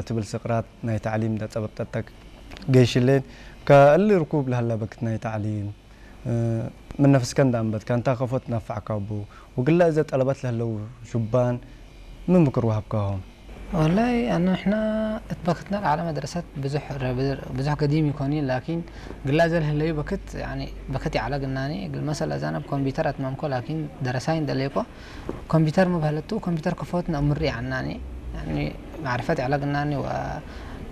ትብል ስቕራት ናይ ታዕሊም ዳጸበጠጠክ ገይሽሌን ከእሊ ርኩብ ለህላ በክት ናይ ታዕሊም እ፣ ምን ነፍስከ እንዳንበትካ እንታ ከፎት ናፋዕካ ቡ ወግላ እዘ ጠለባት ለህለው ሹባን ምን ምክር ወሃብካሆም? والله أنا إحنا اتبختنا على مدرسة بزح بزح قديم يكوني لكن قلا زل هلي بكت يعني بكتي على قناني قل مثلا زانا بكمبيوتر أتمامكو لكن درساين دليكو ኮምፒውተር ምባህለቱ ኮምፒውተር ክፈት ነእምሪ ዓናኒ يعني معرفة على قناني و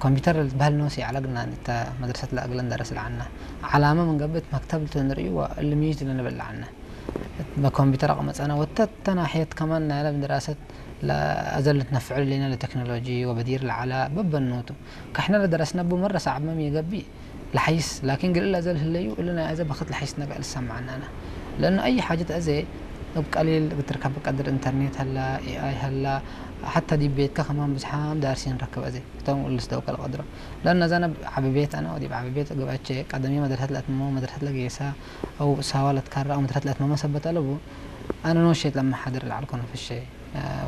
ኮምፒውተር ዝበሃል ነውሲ على قناني تا مدرسة لا أقلن درس العنا علامة من قبل مكتب تنري والميز لنبل عنا بكمبيوتر أقمت أنا وتت ناحية كمان نايلة من دراسة لا أزل نتنفع لنا لتكنولوجي وبدير العلا ببنوتو كحنا لدرسنا بمرة صعب ما ميقبي لحيس لكن قل إلا أزل هليو إلا أزل بخت لحيس نقع لسه معنا أنا لأنه أي حاجة أزي بقليل بتركب بقدر إنترنت هلا إي آي هلا حتى دي بيتك كمان بزحام دارسين ركب أزي كتوم ولس دوك القدرة لأن زانا عبي بيت أنا ودي بعبي بيت قبعتش قدمي مدرسة الأتمو مدرسة لقيسة أو ساوالة كارة أو مدرسة الأتمو ما سبت ألبو أنا نوشيت لما حضر العلكون في الشيء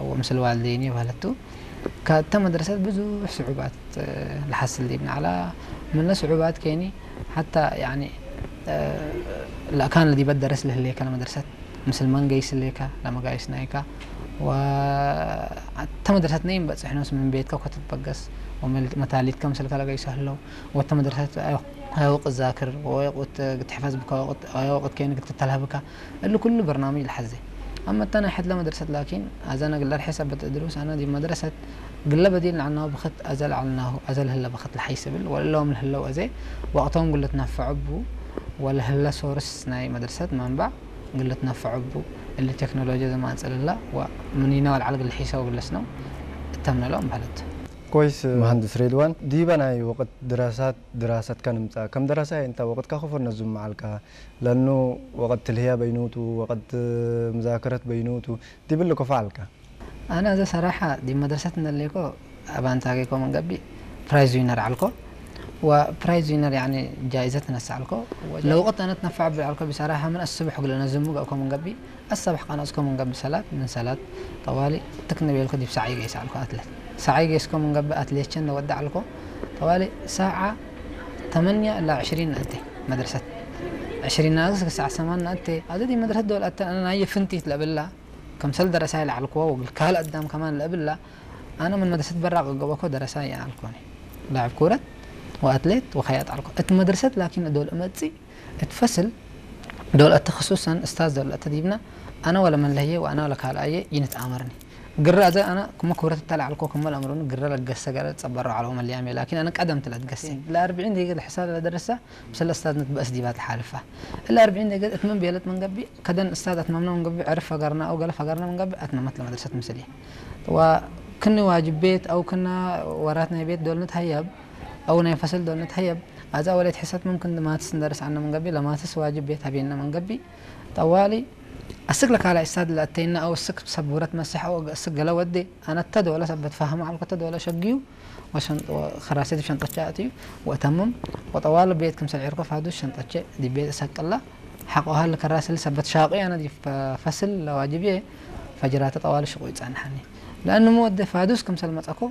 ومثل والديني وهلتو كتم مدرسة بزو صعوبات لحصل دي بن على من صعوبات كيني حتى يعني لا كان الذي بدرس له ليك المدرسة مثل من قيس ليك لما قيس نايكا و حتى مدرسة نيم بس احنا من بيتك كنت تبقس ومتاليت كم سلك لا قيس هلو وحتى مدرسة أيوة ذاكر وقت تحفظ بك وقت أيوة وقت كينك تتلهبك اللي كل برنامج لحزي أما التاني حد لمدرسة لكن أزانا قل حسب بتدروس أنا دي مدرسة قل بديل عنه بخت أزل عنه أزل هلا بخت لحيسبل ولا لهم هلا وأزي وقتهم قلت نفع بو ولا هلا سورس ناي مدرسة منبع قلت نفع بو اللي تكنولوجيا زمان سأل الله ومنينا والعلق الحيسة وقلسنا التمنا لهم بهلت كويس مهندس رضوان ديبا ناي وقت دراسات دراسة كان متى كم دراسة انت وقت كخفر نزم معلكها لأنه وقت الهيا بينوتو وقت مذاكرة بينوتو دي بلكو فعلك أنا إذا صراحة دي مدرسة نليكو أبان تاكيكو من قبي برايز وينر علكو وبرايز وينر يعني جائزة نسا علكو لو قلت أنا تنفع بالعلكو بصراحة من الصبح قلنا زمو قاكو من قبي الصبح قانا أسكو من قبي صلاة من صلاة طوالي تكنا بيلكو دي بساعي قيس علكو أتلت ساعي قيسكو من قبي أتلت شن ودع علكو طوالي ساعة ثمانية إلى عشرين أنت مدرسة عشرين ناقص ساعة ثمانية أنت هذا دي مدرسة دول أتى أنا هي فنتي تلبلا كم سل درسها لعلكو وقال كهل قدام كمان لبلا أنا من مدرسة براق قبكو درسها يعلكوني لاعب كرة وأتليت وخياط علكو أت مدرسة لكن دول أمتي اتفصل دول التخصصا أستاذ دول أتديبنا أنا ولا من لهي وأنا ولا كهل أيه ينتآمرني ግራ እዚ ኣነ ክመ ክብረት እተላዕልኮ ክመ ለእምሩኒ ግራ ለገሰ ገረ ጸበሮ ዓለዎ መለያም እየ ላኪን ኣነ ቀደም ትለት ገሰ ለኣርብዒን ደቂቀ ዝሕሳብ ለደረሳ ምስለ እስታዝ ንትበእስ ዲባ ትሓልፋ እለ ኣርብዒን ደቂቀ እትመን ቤለት መንገቢ ከደን እስታዝ ኣትማምና መንገቢ ዕርፍ ፈገርና ኣው ገለ ፈገርና መንገቢ ኣትመመት ለመድረሰት ምስል እየ ዋ ክኒ ዋጅብ ቤት ኣው ክና ወራት ናይ ቤት ዶልነት ሃያብ ኣው ናይ ፈስል ዶልነት ሃያብ ኣዛ ወለት ሕሰት መምክን ማትስ እንደርስ ዓነ መንገቢ ለማትስ ዋጅብ ቤት ሃቤና መንገቢ ጠዋሊ ኣስክ ለካላ ኢሳድ ለአተይና አው ስክ ሰብ ውረት መሰሕ አው ስክ ገለ ወዴ አነተ ዶለ ሰበት ፋህም አልኮተ ዶለ ሸግዩ ወሸንጦ ከራሴት ሸንጦቻ አትዩ ወተምም ወጠዋል ቤት ክምሰል ዒርኮ ፋዱ ሸንጦቼ ዲቤት እሰቅላ ሐቆሃል ከራስል ሰበት ሻቂ አነ ዲ ፈስል ለዋጅብዬ ፈጅራተ ጠዋል ሽቁ ይጸንሐኒ ለአንሞ ወደ ፋዱስ ክምሰል መጸኮ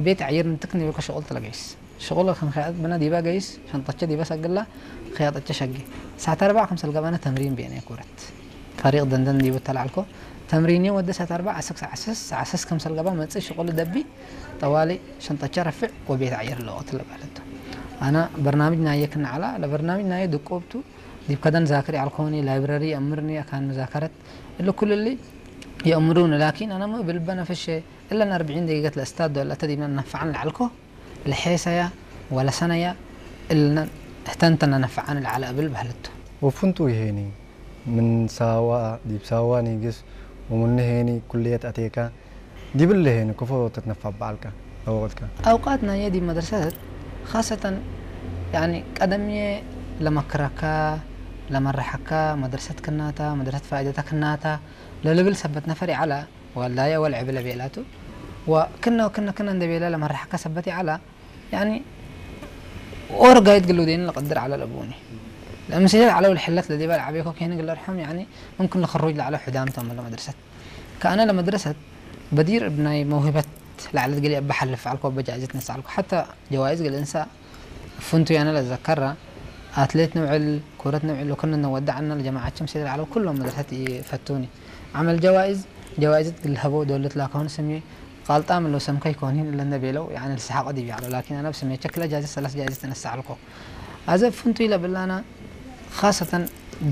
ቤት አየር ንትክ ኒበኮ ሸቁል ተለገይስ ሽቁል ከንኸያጥ ብና ዲባ ገይስ ሸንጠቸ ዲባ ሰግላ ኸያጠቸ ሸጊ ሳት አርባዕ ከምሰል ገባነ ተምሪን ቤነ ኩረት ፈሪቅ ደንደን ዲቡ ተላልኮ ተምሪን ወደ ሳት አርባዕ አስክ ዓስስ ዓስስ ከምሰል ገባ መጽ ሽቁል ደቢ ጠዋሊ ሸንጠቸ ረፍዕ ወቤት አየር ለወት ለባለቱ አና በርናምጅ ናየ ክናዓላ ለበርናምጅ ናየ ድቆብቱ ዲብ ከደን ዛክር ያልኮኒ ላይብረሪ አምርኒ አካን መዛከረት እለ ኩልሊ የእምሩኒ ላኪን አና ብልበ ነፍሸ እለን አርብዒን ደቂቀት ለእስታድ ዶለ ተዲመ ነንፈዓን ለዐልኮ ለሔሰያ ወለሰነያ እልነን እህተንተ ነነፈዓን ለዐለ እብል በህልቱ። ወፍንቱ ይሄኒ ምን ሳዋ ዲብ ሳዋ ኒግስ ወምኑ ሄኒ ኩልየት አቴካ ዲብል ሄኒ ክፎ ተትነፋ በዐልካ አወቅትካ። አውቃት ናየ ዲብ መድረሰት ካሰተን ያኒ ቀደምየ ለመክረካ ለመረሐካ መድረሰት ክናታ መድረሰት ፋኢደታ ክናታ ለልብል ሰበት ነፈር ይዐላ። ዋልዳየ ወልዕብ ለቤላቱ ወክነ ወክነ ክነ እንደ ቤላ ለመራሕካ ሰበት ይዓላ ያኒ ኦር ጋይድ ግሉ ዴን ለቀድር ዓላ ለቡኒ ለምስሌት ዓላ ወልሕለት ለዲባ ለዓቤኮ ኬን ግለርሖም ያኒ ممكن ለኽሩጅ ለዓላ ሑዳም ተመለ መድረሰት ከአነ ለመድረሰት በዲር እብናይ መውህበት ላዕለት ገሊኣ በሓልፍ ዓልኮ በጃይዘት ነሳ ዓልኮ ሓታ ጀዋይዝ ገሊእንሳ ፍንቱ ያነ ለዘከራ ኣትሌት ንውዕል ኩረት ንውዕል ወክነ ነወዳዕና ለጀማዓቸም ሴድ ዓለም ኩሎም መድረሰት ይፈቱኒ ዓመል ጀዋይዝ ጀዋይዘት ግልሀቦ ዶለት ላከሆን ስሜ ቃልጣም ለው ሰምከይ ኮኒን ለነ ቤለው ያነ ልስሓቆ ዲቢ ዓሎ ላኪን ኣነ ብስሜ ቸክለ ጃይዘት ሰላስ ጃይዘት ነሳ ዓልኮ ኣዘ ፍንቱ ይለብላና ካሰተን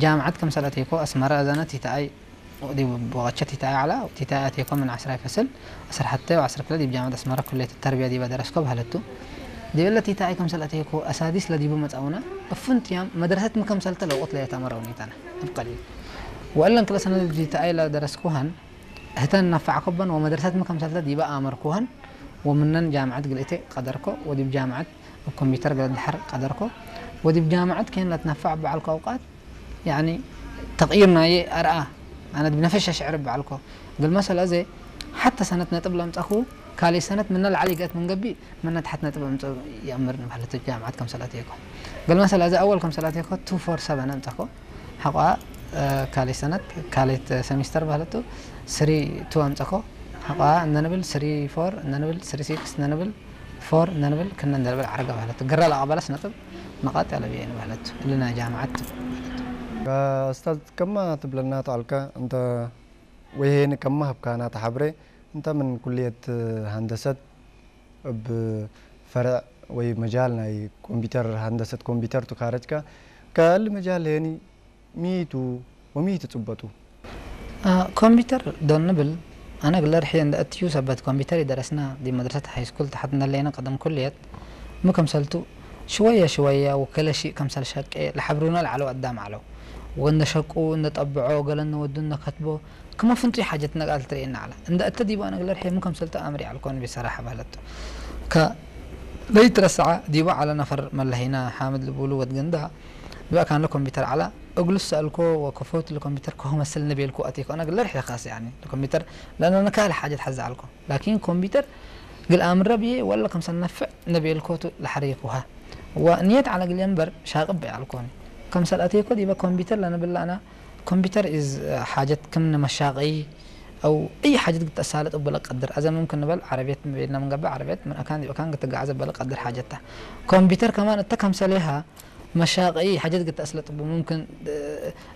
ጃምዓት ከም ሰለተይኮ ኣስመራ ኣዛና ቲታኣይ ودي بوغتشة تيتا على تيتا تيكون من عشرة فصل عشرة حتى وعشرة كلا دي بجامعة أسمرة كلية التربية دي بدرس كوب هلتو دي ولا تيتا أي كم سلة تيكو أساديس لدي بمت أونا فنت يام مدرسة مكم سلة لو قلت لي تمر ونيتنا بقليل وإلا كلا سنة دي تيتا أي لا درس كوهن هتن نفع كوبا ومدرسة مكم سلة دي بقى أمر كوهن ومنن جامعة قلتي قدركو ودي بجامعة ኮምፒተር ገለ ድሓር ቀደርኮ ወዲ ብጃምዓት ከን ለትነፋዕ በዓልኮ ኣውቃት ያኒ ተቕይር ናየ ኣርኣ ኣነ ብነፈሻ ሽዕር በዓልኮ ግል መሰለ ዘ ሓታ ሰነት ነጥብ ለምጻኹ ካልእ ሰነት ምነ ለዓሊ ገት ምን ገቢ ምነ ትሓት ነጥብ ኣምጽ ይኣምር ንባህለት ጃምዓት ከም ሰላት የኮ ግል መሰለ ዘ ኣወል ከም ሰላት የኮ two four seven ኣምጻኹ ሓቋ ካልእ ሰነት ካልእ ሰሚስተር ባህለቱ three two ኣምጻኹ ሓቋ እንደ ንብል three four እንደ ንብል three six እንደ ንብል ፎር እንደ ንብል ክነ እንደ ንብል ዓረገ ባህለቱ ግራ ለኣባላስ ነጥብ መቃጥ ያለ ብየ ንባህለቱ እልና ጃምዓት ኡስታዝ ከማ ትብለና ተዓልካ እንተ ወይሄን ከማ ህብካና ተሓብረ እንተ ምን ኩልየት ሃንደሰት እብ ፈርዕ ወይ መጃል ናይ ኮምፒተር ሃንደሰት ኮምፒተር ቱ ካረጅካ ከል መጃል ሄኒ ሚቱ ወሚቱ ጽበጡ ኮምፒተር ዶል ንብል ኣነ ግለር ሕየ እንደ እትዩ ሰበት ኮምፒተር ይደረስና ዲ መድረሰት ሃይስኩል ተሓት እንደለይና ቀደም ኩልየት ምከምሰልቱ ሽወያ ሽወያ ወከለ ሺእ ከምሰል ሸቄ ለሐብሩና ለዓለው ኣዳም ዓለው ወእንደ ሸቁ እንደ ጠብዖ ገለ እነወዱ እነከትቦ ክመ ፍንጡይ ሓጀት ነቃል ትርእየና ዓላ እንደ እተ ዲባ ነግለር ሕየ ምከምሰልቱ ኣምሪ ዓልኮን ቢሰራሐ ባህለቱ ከ ለይትረስዓ ዲባ ዓለ ነፈር መለሂና ሓምድ ልቡሉ ወድገንዳ ዲባ ካንለ ኮምፒተር ዓላ እግሉ ሰእልኮ ወከፎት ለኮምፒተር ከሆ መስል ነቤልኩ ኣቲኮ ነግለር ሕየ ካስ ያኒ ለኮምፒተር ለነ ነካል ሓጀት ሓዛ ዓልኮ ላኪን ኮምፒተር ግል ኣምረ ብዬ ወላ ከምሰል ነፍዕ ነቤልኮቱ ለሐሪኩሃ ወንየት ዓለ ግል የንበር ሻቅብ ያልኮኒ ከምሰል ኣቲኮ ዲባ ኮምፒተር ለነብላና ኮምፒተር ኢዝ ሓጀት ክም ንመሻቂ أو أي حاجة قد أسالت أبلا قدر أذا ممكن نبل عربية بيننا من قبل عربية من أكان دي أكان قد قاعد أبلا قدر حاجتها كمبيوتر كمان أنت كم سليها مشاق أي حاجة قد أسلت أبو ممكن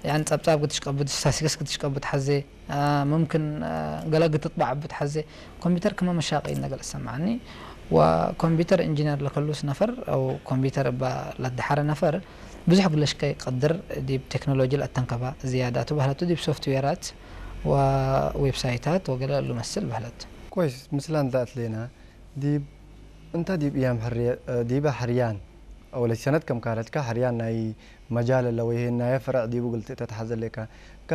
يعني تصاب تصاب قد تشقبض ساسكس قد تشقبض حزي آه ممكن آه قلق تطبع بتحزي كمبيوتر كمان مشاق إنك السمعني وكمبيوتر إنجينير لكلوس نفر أو كمبيوتر با لدحر نفر ብዙሕ ግለሽ ከይቀድር ዲብ ቴክኖሎጂ ለአተንከባ ዝያዳቱ በህለቱ ዲብ ሶፍትዌራት ወዌብሳይታት ወገለ እሉ መስል በህለቱ። ኮይስ፣ ምስላ እንተ አትሌና፣ ዲብ እንተ ዲብ እያም ሕርየ-፣ ዲበ ሕርያን፣ አው ለሰነት ከም ካለትካ ሕርያን ናይ መጃል እለ ወይሄን ናየ ፍረዕ ዲቡ ግልጽ ተትሐዘ ሌካ፣ ከ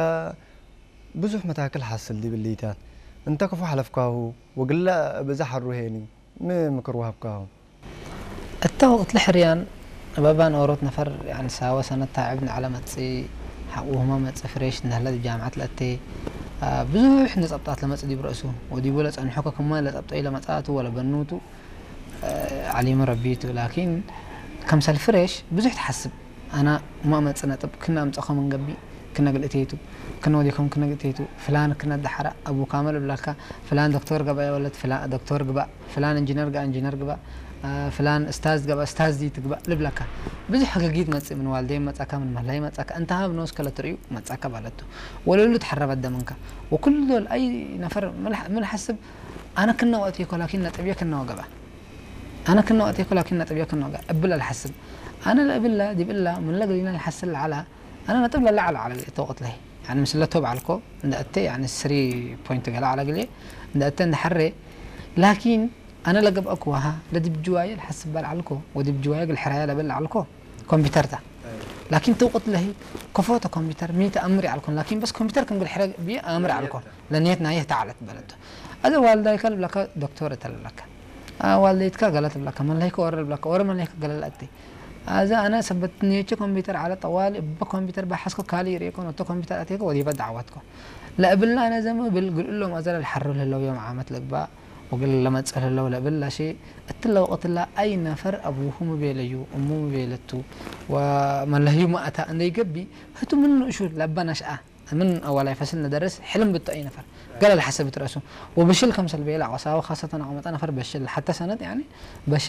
ብዙሕ መታክል ሐስል ዲብ እሊታት፣ እንተ ክፉ ሐለፍካሁ፣ ወግለ እብ እዘ ሐሩ ሄኒ፣ ሚ ምክር ወሀብካሁ? እተ ወቅት ለሕርያን እበባን ኦሮት ነፈር ያኒ ሳወ ሰነት ታዕብ ነዐለ መጽእ ሐቁሁመ መጽእ ፍሬሽ ነህለ ዲብ ጃምዐት ለእቴ ብዙሕ ንጸብጣት ለመጽእ ዲብ ረእሱ ወዲቡ ለጸንሖ ከክመ ለጸብጠዩ ለመጽአቱ ወለበኑቱ ዐሊሙ ረቢቱ ላኪን ከምሰል ፍሬሽ ብዙሕ ትሐስብ። ኣና ማመጽ ነጥብ ክነ ኣምጸኾ ምን ገቢ ክነ ግልእቴቱ ክነ ወዲኮም ክነ ግልእቴቱ ፍላን ክነ ደሓራ ኣቡ ካመል እብላካ ፍላን ዶክተር ገባየ ወለት ፍላ ዶክተር ግባእ ፍላን እንጂነር ጋ እንጂነር ግባእ ፍላን እስታዝ ገባ እስታዝ ዲ ትግባእ ልብለካ ብዙሕ ሕግጊት መጽእ ምን ዋልደይ መጻካ ምን መህላይ መጻካ እንተ ሃብ ኖስ ከለ ትርእዩ መጻካ ባለቱ ወለሉ ተሐረበ ደምንካ ወኩሉ ዶል ኣይ ነፈር ምን ሐስብ ኣነ ክነ ወእትየ ኮላኪን ነጥብየ ክነ ወገባ ኣነ ክነ ወእትየ ኮላኪን ነጥብየ ክነ ወገባ እብል ኣልሐስብ ኣነ ለእብላ ዲብላ ምን ለግሊና ይሐስል ለዓላ ኣነ ነጥብ ለላ ዐለ ዐለ ተወቅት ለሂ ያኒ ምስለ ቶብ ዐልኮ እንደ እተ ያኒ ስሪ ፖይንት ገለ ዐለ ግሌ እንደ እተ እንደ ሐሬ ላኪን ኣነ ለገብአኩ ወሃ ለዲብ ጅዋየ ለሐስብ በል ዐልኮ ወዲብ ጅዋየ ግል ሕራየ ለበል ዐልኮ ኮምፒተር ታ ላኪን ተውቅት ለሂ ከፎተ ኮምፒተር ሚ ተአምር ዐልኮን ላኪን በስ ኮምፒተር ከም ግል ሕረ ብየ አምር ዐልኮ ለንየት ናየ ተዓለት በለቶ ኣዘ ዋልዳይከ ልብለካ ዶክተር እተ ልብለካ ዋልደይትካ ገለ ትብለካ መለይከ ወረ ልብለካ ወረ መለይከ ገለ ለእቲ ኣዘ ኣነ ሰበት ንየቸ ኮምፒተር ዐለ ጠዋሊ እበ ኮምፒተር በሐስኮ ካሊ ይርእኮ ነቶ ኮምፒተር ኣቴከ ወዲበ ዳዕዋትኮ ለእብላ ኣነ ዘም እብል ግልእሎም ኣዘ ለልሐሩ ለህለው ዮም ዓመት ልግባእ ወግል ለመጽእ ለህለው ለእብል ላሺ እትለ ወቅትላ ኣይ ነፈር አቡሁ ምቤለዩ እሙ ምቤለቱ ወመለህዩ ማእታ እንደይገቢ ህቱ ምን ንእሹ ለበ ነሽአ من أول فصل ندرس حلم بالتأي نفر قال الحسب ترأسه وبشل كم سلبية لا وساوى خاصة أقمت نفر بشل حتى سنة يعني بشل